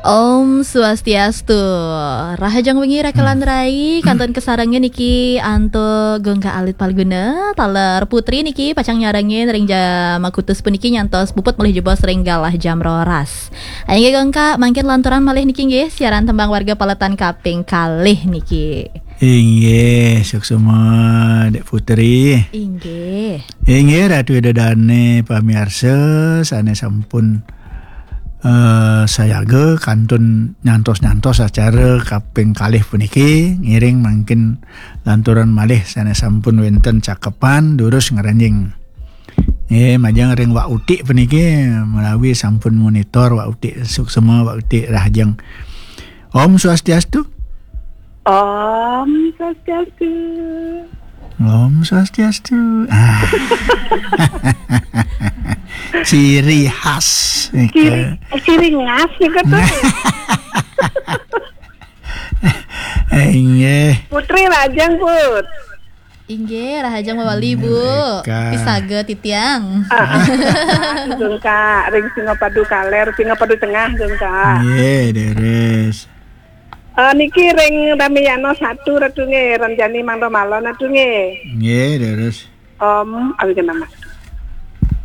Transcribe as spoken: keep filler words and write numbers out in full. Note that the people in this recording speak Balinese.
Om Swastiastu. Rahajeng wengi Raka lan Rai, kantun kasarengin niki antuk Gungkak alit Palguna, taler Putri niki pacang nyarengin ring jam akutus puniki nyantos puput malih jebos ring galah jam roras. Inggih Gungkak, mangkin lanturang malih niki nggih, siaran tembang warga paletan kaping kalih niki. Inggih, suksma Dek Putri. Inggih. Inggih, Ratu Ida Dane pamiarsa sane sampun eh, sayaga kantun nyantos-nyantos acara kaping kalih puniki, ngiring mangkin lanturang malih sane sampun wenten cakepan durus ngranjing. Nggih, majeng ring Wak Utik puniki menawi sampun monitor Wak Utik, suksma Wak Utik, rahajeng. Om Swastiastu. Om Swastiastu. Om Swastiastu. Ah. Ciri khas. Ciri, ciri khas niku tuh. Inggih. Putri rahajeng, Put. Inggih, rahajeng mawali, Bu. Mereka. Pisaga titiang. Ah, ah. Gungkak, ring Singapadu Kaler, Singapadu Tengah, Gungkak. Nggih, deres. Eh, niki ring Ramayana satu, Ratu nggih, Ranjani Mangda Malon, Ratu nggih. Nggih, deres. Om Awighnam.